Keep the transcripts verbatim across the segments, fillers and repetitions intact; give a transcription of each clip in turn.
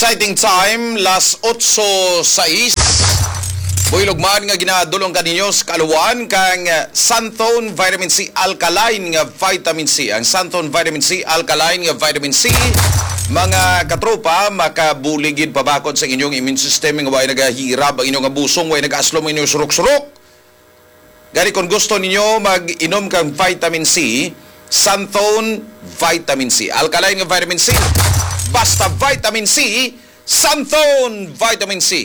Exciting time, las otso sais. Buylog man nga ginadulong kaninyo sa kaluan kang Santhone Vitamin C Alkaline nga Vitamin C. Ang Santhone Vitamin C Alkaline nga Vitamin C, mga katropa, makabulig gid pabakod sa inyong immune system nga way nagahirab ang inyong abusong, way nag-aslom ang inyong surok-surok. Gani, kung gusto ninyo mag-inom kang vitamin C, Santhone Vitamin C. Alkaline nga vitamin C. Basta vitamin C, Santhone Vitamin C.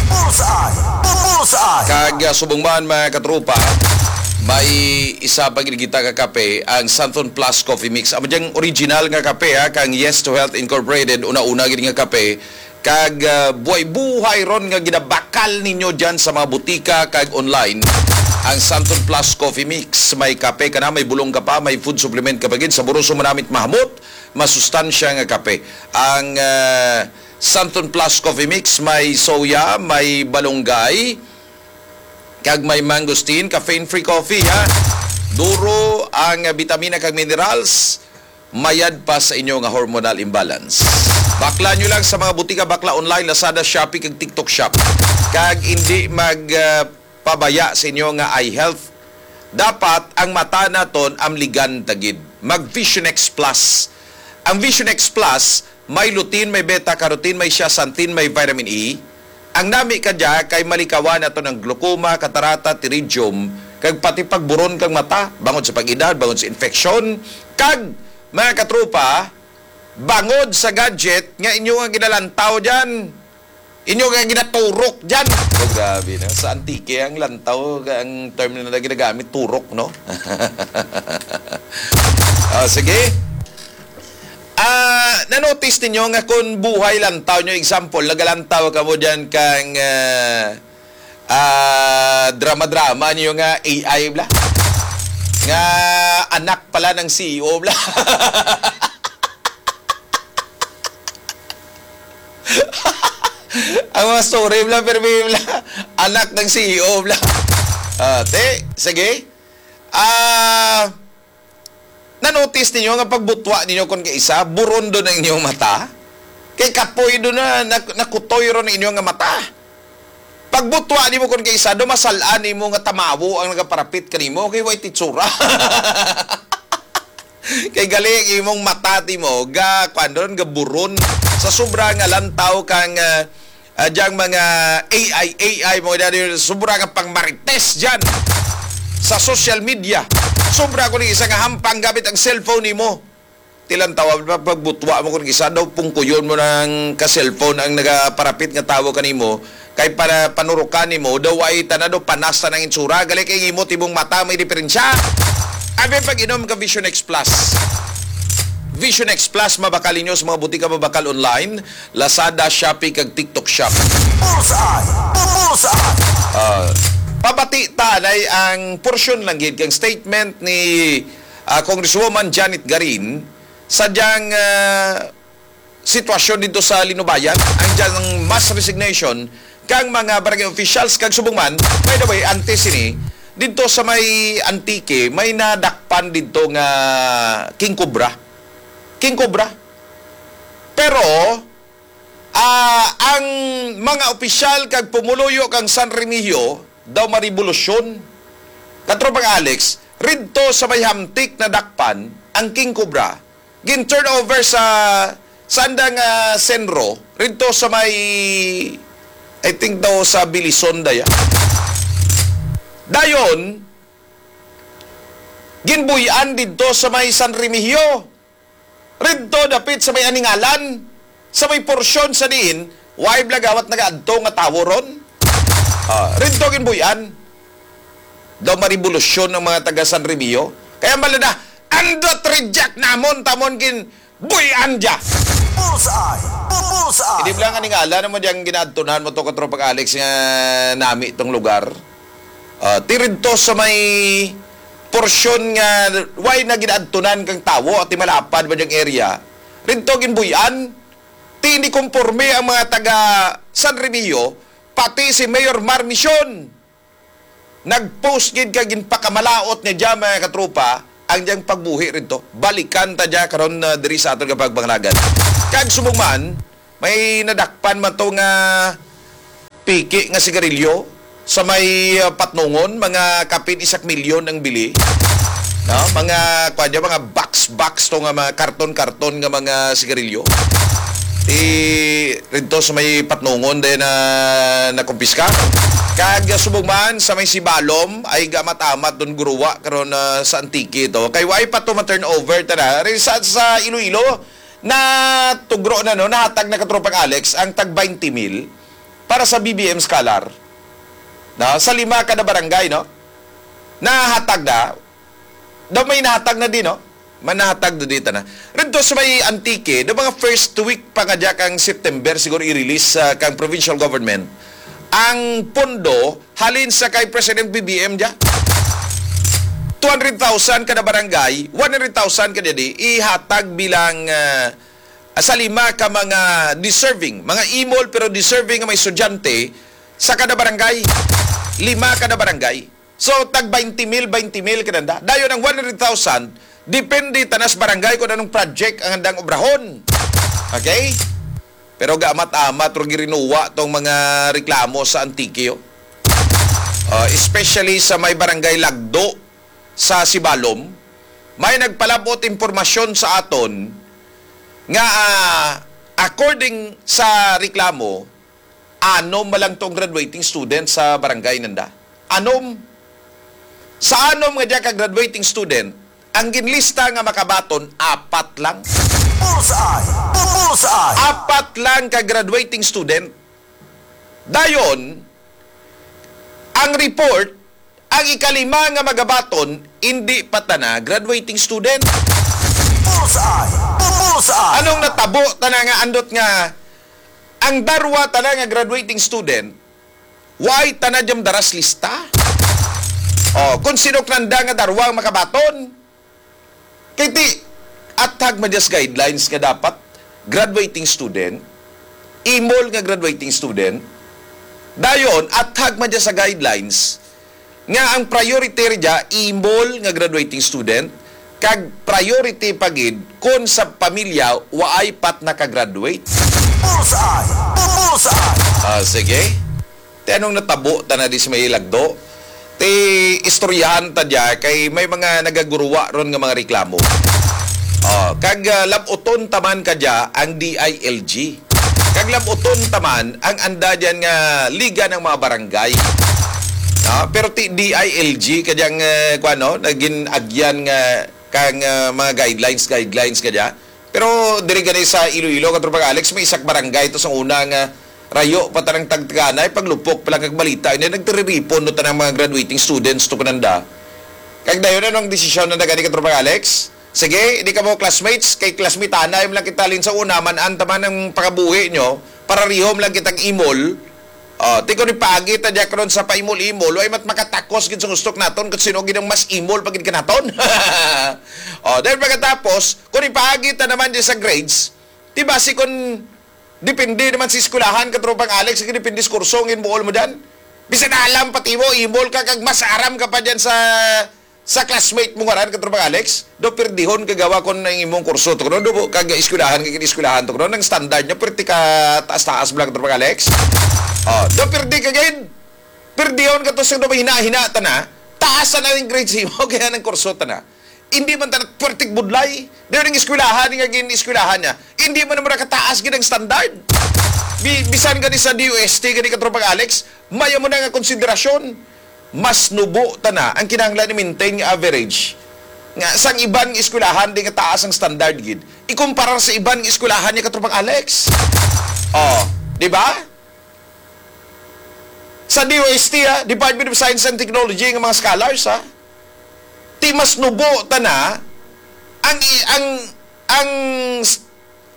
Bullseye! Bullseye! Kag, ah, subong man, mga katropa, may isa pa gid kita ka kape, ang Santhone Plus Coffee Mix. Amo diyang original nga kape, ha, kang Yes to Health Incorporated, una-una gid nga kape. Kag, ah, buhay-buhay ron nga ginabakal ninyo dyan sa mga butika kag online. Ang Santon Plus Coffee Mix, may kape ka na, may bulong ka pa, may food supplement ka pa gid, saboroso, manamit, mahamot, masustansya nga kape. Ang, ah, Santon Plus Coffee Mix, may soya, may balunggay, kag may mangosteen, caffeine-free coffee, ha. Duro ang, ah, bitamina kag minerals, mayad pa sa inyo nga hormonal imbalance. Bakla nyo lang sa mga butika, bakla online, Lazada, Shopee, kag TikTok Shop. Kag hindi mag, ah, pabaya sa inyo nga eye health. Dapat ang mata naton amligan ta gid. Mag Vision X Plus. Ang Vision X Plus may lutein, may beta carotene, may zeaxanthin, may vitamin E. Ang nami ka dya kay malikawan naton ang glaucoma, katarata, pterygium, kag pati pagburon kang mata, bangod sa pag-edad, bangod sa infeksyon, kag, mga katropa, bangod sa gadget nga inyo nga ginalantaw dyan, inyo nga ginaturok dyan. Oh, grabe na. Sa Antique, ang lantaw, ang term na ginagamit, turok, no? Ah, sige. Ah, na-notice ninyo nga kung buhay lantaw nyo, example, nagalantaw ka mo dyan kang, ah, ah, drama-drama niyo nga A I bla? Nga anak pala ng C E O bla? Ang mga story bla, pero bla, anak ng C E O bla. Ah, te, sige. Ah, na-notice ninyo nga pagbutwa ninyo kon kay isa, buron do ang inyong mata? Kay kapoy do na, nak-, nakutoy ron ang inyong nga mata. Pagbutwa nimo kon kay isa, do masal-an nimo nga tamawo ang nagaparapit kanimo, kay way titsura. Kay gali ang imong mata, timo, ga, kuwan ron, ga buron. Sa sobra nga lantaw kang, ah, ah, diyang mga A I, A I, mga dali, sobra nga pang marites dyan sa social media. Sobra ko ni isa nga hampang gamit ang cellphone nimo. Tilantawa pa, pagbutwa mo kung isa daw, pungkuyon mo ng ka-cellphone ang nagaparapit nga tawo kanimo, kay para panurukan nimo, daw ay tana daw panas na ng itsura, gali kay imot imong mata, may diferensya. Abi pag-inom ka Vision X Plus. Vision X Plus, mabakal ninyo sa mga butika, mabakal online, Lazada, Shopee, kag TikTok Shop. Bullseye! Bullseye! Ah, pabati ta, nay, ang porsyon lang gid kang statement ni, ah, Congresswoman Janet Garin sa diyang, ah, sitwasyon dito sa Linubayan, ang diyang mass resignation kang mga barangay officials kag subong man, by the way, antes ini, dito sa may Antique, may nadakpan dito nga King Cobra. King Cobra. Pero, ah, ang mga opisyal kag pumuluyo kang San Remigio daw marevolusyon. Katropang Alex, ridto sa may Hamtic nadakpan ang King Cobra, gin-turn over sa, sa andang, ah, Senro, ridto sa may, I think daw sa Bilison daya. Dayon, ginbuy-an didto sa may San Remigio. Ridto dapit sa may Aningalan, sa may porsyon sa diin, way blagawat nagaadto nga tawo ron. Ah, ridto ginbuy-an. Daw marevolusyon ang mga taga San Remigio. Kaya malada, andot reject namon, tamon gin buy-an dya. Bullseye! Bullseye! Hindi mo lang Aningalan mo diyang ginaadtunan mo to, Katropang Alex, nga nami tong lugar. Ah, ti ridto sa may porsyon nga way na ginaadtunan kang tawo at malapad ba diyang area. Ridto ginbuy-an, ti hindi konforme ang mga taga San Remigio, pati si Mayor Mar Mision. Nag-post gid kag ginpakamalaot niya dyan, mga katropa, ang diyang pagbuhi ridto. Balikan ta dya karon na diri sa aton nga pagpangalagan. Kag subong man, May nadakpan man to nga piki nga sigarilyo sa may, uh, Patnongon, mga kapin isak milyon ang bili. No? Mga, kuwan dyan, mga box-box to nga mga karton-karton nga mga sigarilyo. Ti, ridto sa may Patnongon din na nakumpiska. Kag subong man sa may Sibalom ay gamat-amat doon guruwa karon, ah, sa Antique to. Kay why pa to ma-turnover tana? Rin sa, sa Iloilo, na tugro na, no, nahatag na, katropang Alex, ang tag twenty mil para sa B B M Scholar. Na, sa lima kada barangay, no? Nahatag na. Daw may nahatag na din, no? Manahatag na dito na. Rito sa may Antique, the mga first week pa nga dya kang September, siguro i-release sa kang provincial government ang pondo halin sa kay President B B M dya. Two hundred thousand kada barangay, one hundred thousand kada di, ihatag bilang, ah, sa lima ka mga deserving, mga imol pero deserving nga mga estudyante sa kada barangay. Lima kada barangay. So, tag twenty mil, twenty mil kananda. Dayon ang one hundred thousand, depende tanas barangay kung anong project ang handang obrahon. Okay? Pero gaamat-amat, ro girinuwa tong mga reklamo sa Antique, oh. Ah, especially sa may barangay Lagdo sa Sibalom, may nagpalabot impormasyon sa aton nga, ah, according sa reklamo, anom man lang tong graduating student sa barangay nanda. Anom. Sa anom nga diya ka graduating student, ang ginlista nga makabaton, apat lang. Bullseye! Bullseye! Apat lang ka graduating student. Dayon, ang report, ang ikalima nga magabaton, hindi pa tana graduating student. Bullseye! Bullseye! Anong natabo tana nga andot nga ang darwa tana nga graduating student, why tana jam daras lista? Oh, kung sino nanda nga darwa ang makabaton? Kay ti, athag man dyan sa guidelines nga dapat graduating student, imol nga graduating student, dayon, athag man dyan sa guidelines nga ang priority ri dya, imol nga graduating student, kag priority pa gid kon sa pamilya waay pat naka-graduate. Bullseye! Bullseye! Ah, sige. Ti anong natabo ta na di sa may Lagdo? Ti istoryahan ta dya kay may mga nagaguruwa ron nga mga reklamo. Oh, kag, ah, labuton taman ka dya ang D I L G. Kag labuton taman ang anda dyan nga liga ng mga barangay. Ah, pero ti D I L G ka dyang, eh, kuwan, no? Naging agyan nga kang, ah, mga guidelines, guidelines ka dya. Pero diri gani sa Iloilo, Katropang Alex, may isak barangay to sa una nga rayo pa tanang tagtaganay, paglupok pa lang kag balita, ini nagtiriripon no tanang mga graduating students to kananda. Kag dayon, ano ang desisyon na gani, Katropang Alex? Sige, di ka mo classmates, kay classmate anay lang kita lin sa una, man-an taman ang pakabuhi nyo, para rihom lang kitang imol. Oh, ti ko ni pagi ta dya karon sa paimol-imol, way mat makatakos gid sa gusto naton, kung sino gid ang mas imol pa gid kanaton. Oh, then pagkatapos, kung ipaagi ta naman dyan sa grades, di ba si kung depende naman si eskwelahan, Katropang Alex, kung depende sa kurso, ang inbuol mo dyan. Bisan alam pati mo, imol ka, kag mas aram ka pa dyan sa, sa classmate mo ngaran, Katropang Alex, do perdihon ka gawa kung ang imong kurso to, no? Do, kag eskwelahan, kag eskwelahan to, no? Ang standard niya, perti ka taas-taas mo lang, Katropang Alex. Oh, do perdi ka gid. Perdihon ka to sa do hina-hina ta na, taas na ang grades mo, kaya ng kurso ta na. Hindi man ta na pwerteng budlay. Di rin eskwelahan nga gin-eskwelahan niya. Hindi man naman kataas gid ang standard. Bi-, bisan gani sa D O S T, gani, Katropang Alex, maya mo na nga konsiderasyon. Mas nubo ta na ang kinahanglan i-maintain nga average nga sang iban nga eskwelahan di nga taas ang standard gid. Ikumparar sa iban nga eskwelahan niya, Katropang Alex. Oh, di ba? Sa D O S T, ha, Department of Science and Technology, nga mga scholars, ha, ti mas nubo ta na ang i-, ang, ang,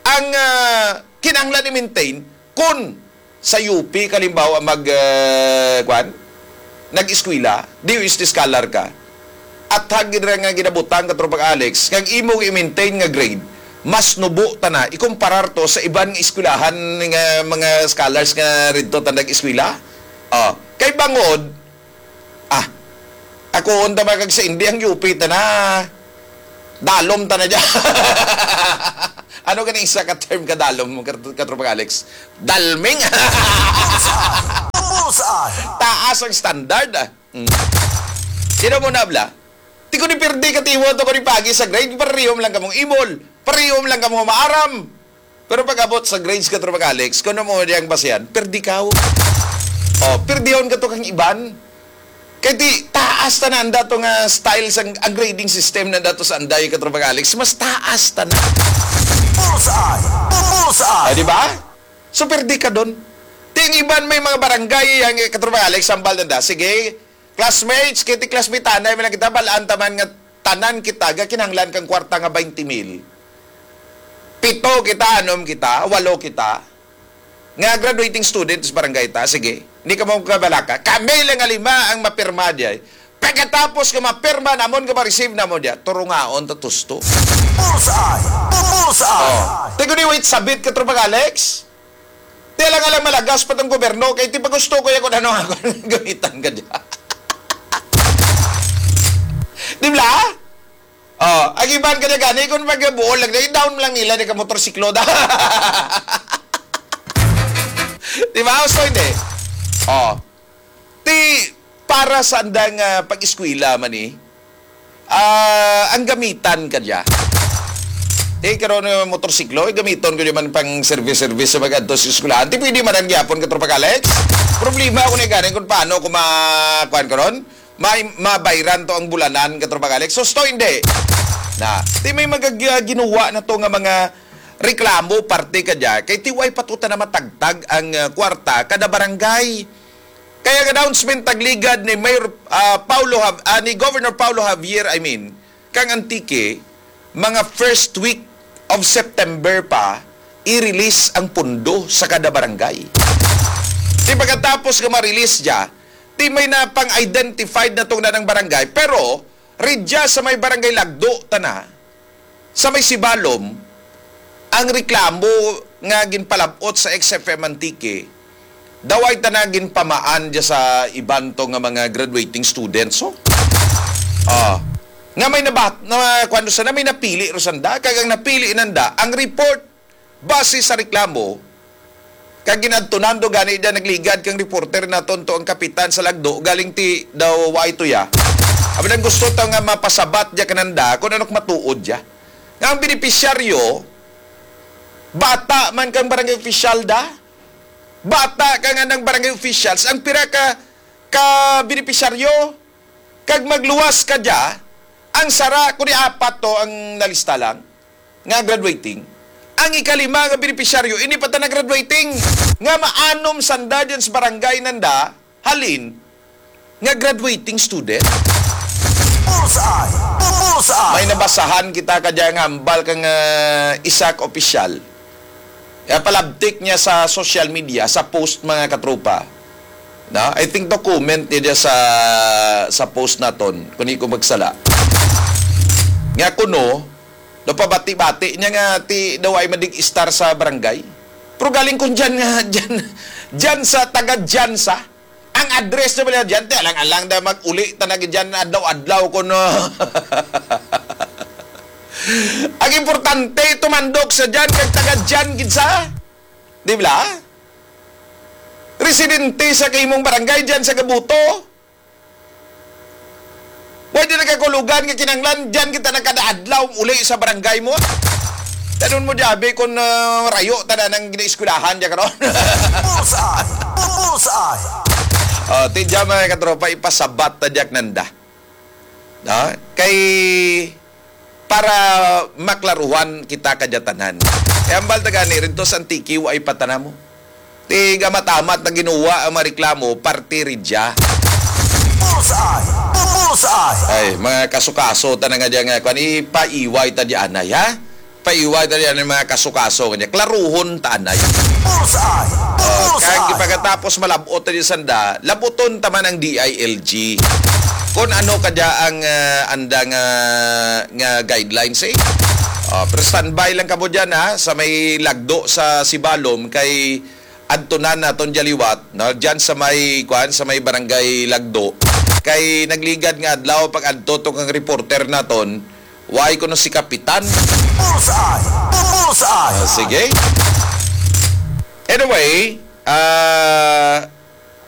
ang, ah, kinahanglan i-maintain kun sa U P, kalimbawa, mag, ah, kwan, nag-eskwela, D O S T scholar ka. At hagid ra nga ginabutang, Katropang Alex, kag imo i-maintain nga grade, mas nubo ta na ikumparar to sa iban nga eskwelahan nga mga scholars nga ridto ta nag-eskwela. Oh, kay bangod, ah, ako unta ba kag sa Indi ang U P ta na, dalom ta na dyan. Ano gani isa ka term ka dalom, kat-, Katropang Alex? Dalming? Bullseye! Taas ang standard, ah. Mm. Sino mo na, bla? Ti ko ni pirdi ka tiwa to ko ni pagi sa grade, parehom lang kamong imol. Parehom lang kamong maaram. Pero pag abot sa grades, Katropang Alex, kung ano mo diyang basihan, pirdi ka. Oh, pirdihon ka to kang iban. Kay ti, taas tanan dato nga style sang ang grading system na dato sa Anday, Katropang Alex. Mas taas tanan. Bullseye! Bullseye! Ah, di ba? So, pirdi ka doon. Ti, ang iban may mga barangay, ang, eh, Katropang Alex, sambal na da. Sige, classmates, kay ti classmate, anay man lang kita, balaan taman nga tanan kita, ga kinahanglan kang kwarta nga twenty mil. Pito kita, anom kita, walo kita. Nga graduating student sa barangay ta, sige. Hindi ka mo kabalaka. Kami lang nga lima ang mapirma diay. Pagkatapos nga mapirma namon nga ma-receive namon diya, turungaon ta tusto. Bullseye! Bullseye! Oh. Tigo ni wait sabit ka, Tropang Alex. Ti lang alang malagas pa tong gobyerno, kay ti pa gusto ko ya kung ano ako gamitan ka diya. Di ba? Oh, ang iban ka na gani, kung magbuol lang, i-down lang nila, di ka motorsiklo da. Di ba? So, hindi. Oh. Ti, para sa andang, ah, pag-eskwela man eh, ah, ang gamitan ka diya. Eh, karon nga motorsiklo, eh, gamiton ko naman pang service-service sa mag-adto sa eskwelahan. Ti pwede man ang gyapon, Katropang Alex. Problema ako na gani kung paano ko ma-, kuwan karon, ma-, mabayran to ang bulanan, Katropang Alex. So, sto, hindi. Na, ti may magag-, ah, ginuwa na to nga mga reklamo, parte ka diya. Kay ti way patuta na matagtag ang, ah, kwarta kada barangay. Kaya ang announcement tagligad ni Mayor, ah, Paulo Jav-, ah, ni Governor Paulo Javier, I mean, kang Antique, mga first week of September pa, i-release ang pundo sa kada barangay. Di pagkatapos nga ma-release dya, di may na pang-identified na tong nanang barangay, pero ridya sa may barangay Lagdo, tana, sa may Sibalom, ang reklamo nga ginpalabot sa X F M Antique, daw ay tana ginpamaan dya sa iban to nga mga graduating students, oh. Ah, nga may nabat-, na, kuwan sa na, may napili ro sanda, kag ang napili nanda, ang report base sa reklamo, kag ginadtunan do gani dyan nagligad kang reporter naton to ang kapitan sa Lagdo, galing ti daw wa ito ya. Abi nang gusto ta nga mapasabat dya kananda kung ano matuod dya. Nga ang benepisyaryo, bata man kang barangay official da, bata ka nga ng barangay officials, ang pira ka, ka benepisyaryo, kag magluwas ka dya, ang sara, kung di apat to ang nalista lang, nga graduating, ang ikalima nga benepisyaryo, ini pa ta na graduating, nga maanom sanda dyan sa barangay nanda, halin, nga graduating student. Bullseye! Bullseye! May nabasahan kita ka dyan nga hambal kang, ah, isa ka opisyal. Kaya palabtik niya sa social media, sa post, mga katropa. Na, I think to comment niya sa, sa post naton, kung di ko magsala. Nga kuno, napabati-bati niya nga ti daw ay madig istar sa barangay. Pero galing kun dyan nga, dyan, dyan sa taga dyan sa, ang address na pala dyan, ti alang-alang da mag-uli ta na dyan adlaw-adlaw kuno. Ang importante, tumandok sa dyan, kag taga dyan gid sa, di ba? Residente sa kaimong barangay dyan sa Gabuto. Pwede na kakulugan nga kinanglan, dyan kita na kada adlaw uli sa barangay mo. Tanun mo, Javi, kung, ah, rayo ta na nang ginaeskwelahan dyan karon. Bullseye! Bullseye! Oh, ti dyan, mga katropa, ipasabat ta dyan nanda. Na? Kay para maklaruhan kita kadya tanan. Kay hambal ta gani, rinto sa Antique, wa ay patana mo. Ti gamat-amat na ginuwa ang mga reklamo, parte ridya. Bullseye! Bullseye! Ay, mga kaso-kaso, ta na nga dyan nga, kwan, ipaiway ta di anay, ha? Paiway ta di anay, mga kaso-kaso, kanya, klaruhon ta anay. Bullseye! Oh, Bullseye! Kag pagkatapos malabot ta di sanda, labuton ta man ang D I L G. Kung ano kadya ang, ah, andang, ah, nga guidelines, eh. Oh, pero standby lang kamo dyan, ha, sa may lagdo sa Sibalom, kay adtunan naton dyan liwat, no? Dyan sa may, kuan, sa may barangay Lagdo. Kay nagligad nga adlaw pag adto to kang reporter naton, Why kuno si Kapitan? Bullseye! Bullseye! Ah, sige. Anyway, ah,